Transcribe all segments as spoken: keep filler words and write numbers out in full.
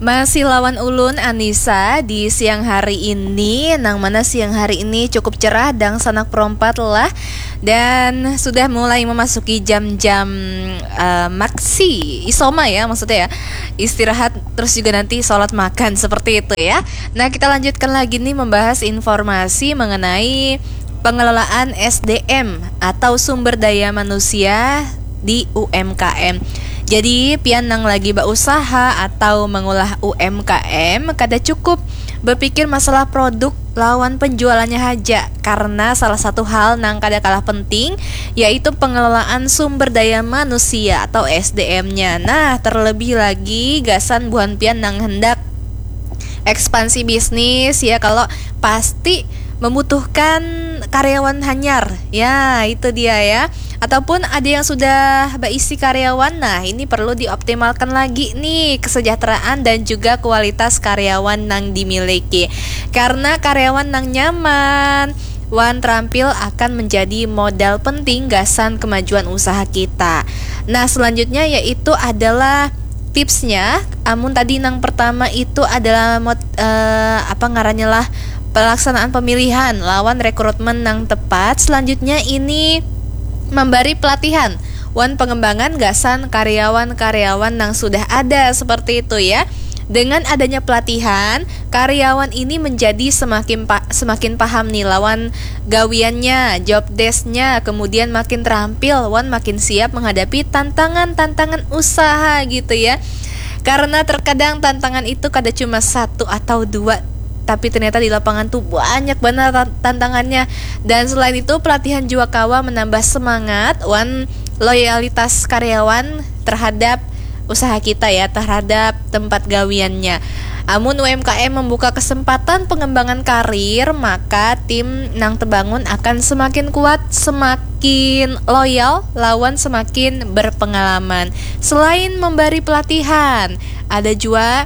Masih lawan ulun Anissa di siang hari ini, nang mana siang hari ini cukup cerah dangsanak perompat lah, dan sudah mulai memasuki jam-jam uh, maksi isoma ya, maksudnya ya, istirahat terus juga nanti sholat makan seperti itu ya. Nah, kita lanjutkan lagi nih membahas informasi mengenai pengelolaan S D M atau sumber daya manusia di U M K M. Jadi pian nang lagi bausaha atau mengulah U M K M kada cukup berpikir masalah produk lawan penjualannya haja, karena salah satu hal nang kada kalah penting yaitu pengelolaan sumber daya manusia atau S D M-nya. Nah, terlebih lagi gasan buhan pian nang hendak ekspansi bisnis ya, kalau pasti membutuhkan karyawan hanyar. Ya, itu dia ya. Ataupun ada yang sudah berisi karyawan, nah ini perlu dioptimalkan lagi nih kesejahteraan dan juga kualitas karyawan nang dimiliki. Karena karyawan nang nyaman wan terampil akan menjadi modal penting gasan kemajuan usaha kita. Nah, selanjutnya yaitu adalah tipsnya. Amun tadi nang pertama itu adalah mot, uh, apa ngarannya lah, pelaksanaan pemilihan lawan rekrutmen nang tepat. Selanjutnya ini memberi pelatihan wan pengembangan gasan karyawan-karyawan nang sudah ada seperti itu ya. Dengan adanya pelatihan, karyawan ini menjadi semakin pa, semakin paham nih lawan gawiannya, job desk-nya, kemudian makin terampil wan makin siap menghadapi tantangan-tantangan usaha gitu ya. Karena terkadang tantangan itu kada cuma satu atau dua, tapi ternyata di lapangan tuh banyak banget tantangannya. Dan selain itu, pelatihan juga kawa menambah semangat wan loyalitas karyawan terhadap usaha kita ya, terhadap tempat gawiannya. Amun U M K M membuka kesempatan pengembangan karir, maka tim nang terbangun akan semakin kuat, semakin loyal, lawan semakin berpengalaman. Selain memberi pelatihan, ada juga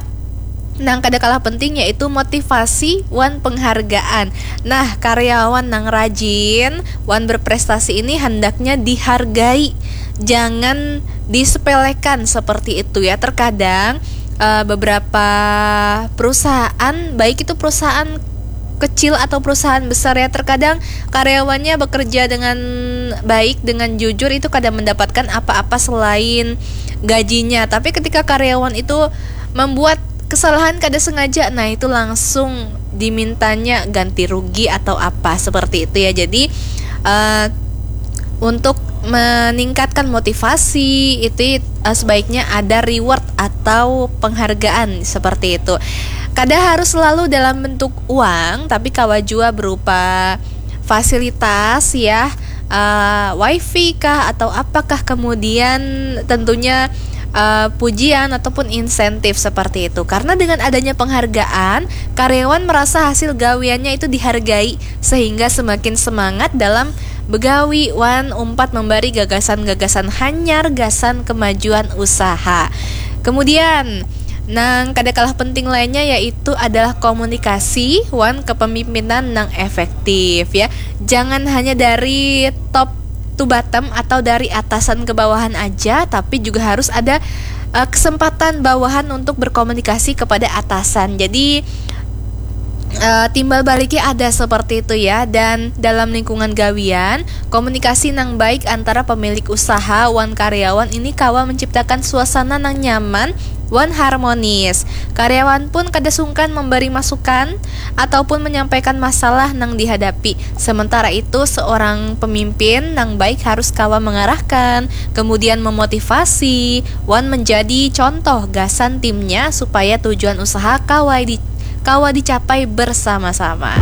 nang kada kalah penting yaitu motivasi wan penghargaan. Nah, karyawan nang rajin wan berprestasi ini hendaknya dihargai, jangan disepelekan seperti itu ya. Terkadang uh, beberapa perusahaan, baik itu perusahaan kecil atau perusahaan besar ya, terkadang karyawannya bekerja dengan baik, dengan jujur, itu kadang mendapatkan apa-apa selain gajinya. Tapi ketika karyawan itu membuat kesalahan kada sengaja, nah itu langsung dimintanya ganti rugi atau apa seperti itu ya. Jadi uh, untuk meningkatkan motivasi itu uh, sebaiknya ada reward atau penghargaan seperti itu. Kada harus selalu dalam bentuk uang, tapi kawa jua berupa fasilitas ya, uh, wifi kah atau apakah, kemudian tentunya uh, pujian ataupun insentif seperti itu. Karena dengan adanya penghargaan, karyawan merasa hasil gawiannya itu dihargai sehingga semakin semangat dalam begawi wan umpat membari gagasan-gagasan hanyar gasan kemajuan usaha. Kemudian nang kada kalah penting lainnya yaitu adalah komunikasi wan kepemimpinan nang efektif ya. Jangan hanya dari top to bottom atau dari atasan ke bawahan aja, tapi juga harus ada uh, kesempatan bawahan untuk berkomunikasi kepada atasan. Jadi uh, timbal baliknya ada seperti itu ya. Dan dalam lingkungan gawian, komunikasi nang baik antara pemilik usaha wan karyawan ini kawa menciptakan suasana nang nyaman wan harmonis. Karyawan pun kada sungkan memberi masukan ataupun menyampaikan masalah nang dihadapi. Sementara itu, seorang pemimpin nang baik harus kawa mengarahkan, kemudian memotivasi, wan menjadi contoh gasan timnya supaya tujuan usaha kawa di kawa dicapai bersama-sama.